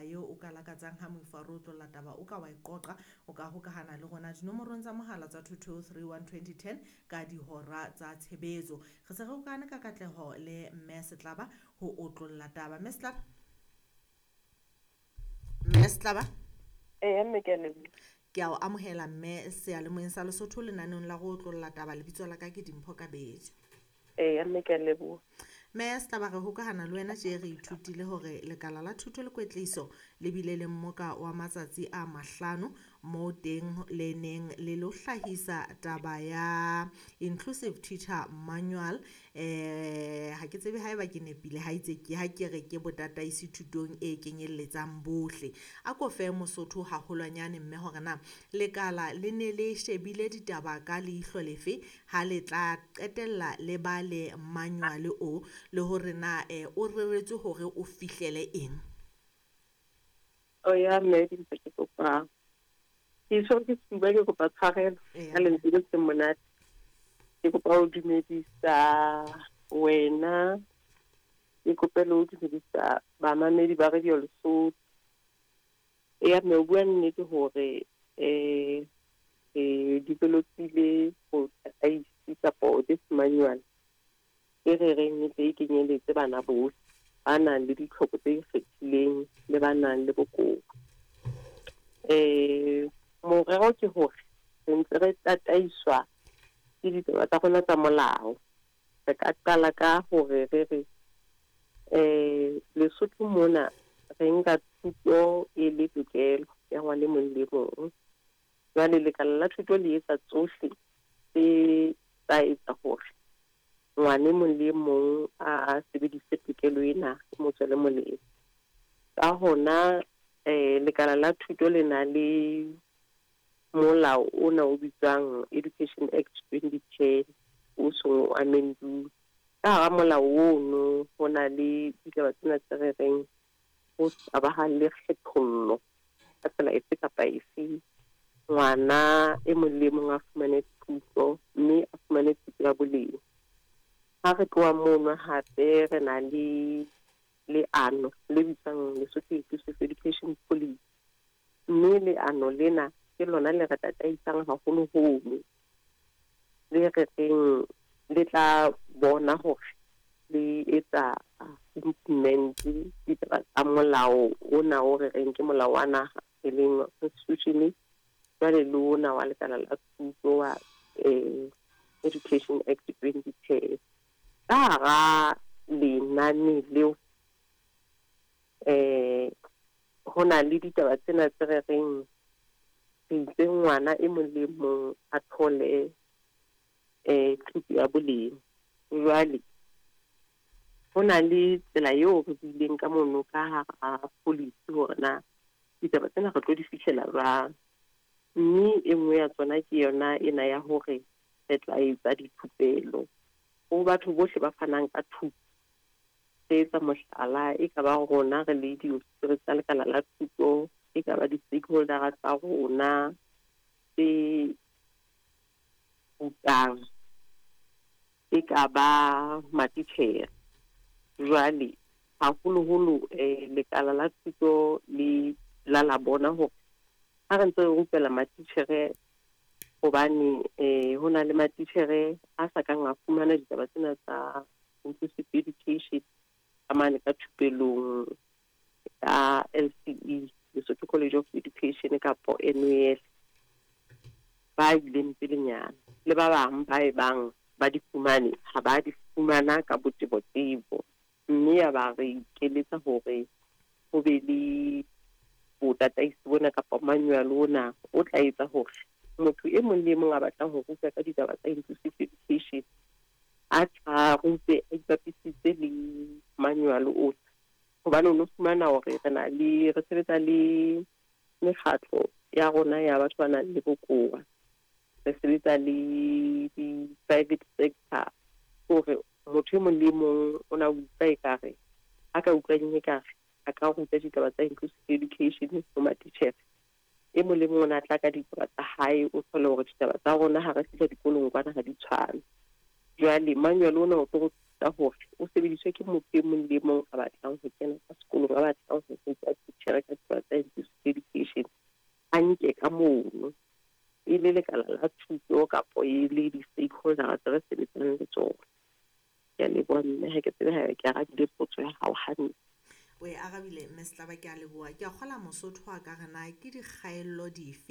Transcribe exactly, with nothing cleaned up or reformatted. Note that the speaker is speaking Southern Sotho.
taba eo o ka lakatsang ha moifo a re otlolla taba o ka wa e qoqa, o ka hokahana le rona dinomorong tsa mohala tsa two two three one twenty ten ka dihora tsa tshebetso. Re se re hokahane ka katleho le Mme Setlaba ho otlolla taba. Mme Setlaba? Mme Setlaba? Eya mme, ke a leboha. Ke a o amohela mme seyalemoyeng sa Lesotho lenaneong la go otlolla taba. Lebitso la ka ke Dimpho Kabetso. Eya mme, ke a leboha. Mme Setlaba, re hokahana le wena tje re ithutile hore lekala la thuto le kwetliso le bile le mmoka wa matsatsi a mahlano moo teng le neng le lo hlahisa taba ya Inclusive Teacher Manual. Eh ha ke tsebe haeba ke nepile ha itse ke ha ke re ke botataisi thutong e kenyelletsang bohle. A ko fe Mosotho haholwanyane mme hore na lekala le ne le shebile ditaba ka leihlo lefe ha le tla qetella le ba le manual o, le hore na eh, o reretswe hore o fihlele eng? O ya mme, Dimpho, ke kopa ke tshwere ke sefuba, ke kopa tshwarelo Eya. ka lentswe le seng monate. Ke kopa ho dumedisa wena, ke kope le ho dumedisa bamamedi ba Radio Lesotho. Eya mme, o bua nnete hore eh eh developile ho tataisi kapo this manual e re reng e tle e kenyeletse bana bohle ba nang le ditlhoko tse ikgethileng le ba nang le bokowa. Eh morero ke hore re ntse re tataiswa ke ditaba tsa rona tsa molao. Re ka qala ka hore re re eh Lesotho mona re nka thuto e le tokelo ya ngwana e mong le mong. Jwale lekala la thuto le etsa tsohle tse tsa etsa hore ngwana e mong le mong a sebedise tokelo ena e mo tswele molemo. Ka hona eh lekala la thuto le na le molao ona o bitswang Education Act twenty ten o seng o amend-uwe. Ka hara molao ono ho na le ditaba tsena tse re reng ho ska ba ha le kgethollo ka tsela efe kapa efe. Ngwana e mong le mong a fumane thuto mme a fumane thuto ya boleng. Ha re tloha mono hape re na le leano le bitswang Lesotho Inclusive Education Policy, mme leano lena ke lona le re tataisang haholoholo, le re reng le tla bona hore le etsa implement ditaba tsa molao ona o re reng ke molao wa naha e leng constitution, jwale le ona wa lekala la thuto wa eh Education Act twenty ten. Ka hara lenane leo eh ho na le ditaba tsena tse re reng re itse ngwana e mong le mong a thole eh thuto ya boleng. Jwale ho na le tsela eo re buileng ka mono ka hara policy hore na ditaba tsena re tlo di fihlela jwang. Mme e nngwe ya tsona ke yona ena ya hore re tla etsa dithupelo ho batho bohle ba fanang ka thuto. Re etsa mohlala, e ka ba rona re le diofisiri tsa lekala la thuto, e ka ba di-stakeholder tsa rona tse rutang, e ka ba matitjhere. Jwale haholoholo eh lekala la thuto le la la bona hore ha re ntse re rupela matitjhere, hobane eh ho na le matitjhere a sa kang a fumana ditaba tsena tsa inclusive education ka mane ka thupelong ya L C E, Lesotho College of Education kapo N U S, ba ileng pelenyana le ba bang ba e bang ba di fumane ha ba di fumana ka botebotebo, mme ya ba re ikeletsa hore ho be le botataisi bona kapa manual ona o tla etsa hore motho e mong le mong a batlang ho ruta ka ditaba tsa inclusive education a tla rute a ipapisitse le manual ona. Hobane o no fumana hore re na le, re sebetsa le mekgatlo ya rona ya batho ba nang le bokowa, re sebetsa le di-private sector, hore motho e mong le mong o na utlwa ekare a ka utlwang ekare a ka ruta ditaba tsa inclusive education ho matitjhere. E mong le mong o na tla ka ditaba tsa hae, o thole hore ditaba tsa rona ha re fihla dikolong kwana ha di tshwane. Jwale manual ona o tlo ruta hore o sebediswe ke motho e mong le mong a batlang ho kena ka sekolong, a batlang ho ruta titjhere ka E le lekala la thuto kapo e le di-stakeholder tse re sebetsang le tsona. Ke a leboha mme, ha ke tsebe haeba ke arabile potso ya hao hantle. O e arabile, mme Setlaba, ke a leboha. Ke a kgola Mosotho a ka re na ke dikgaello dife.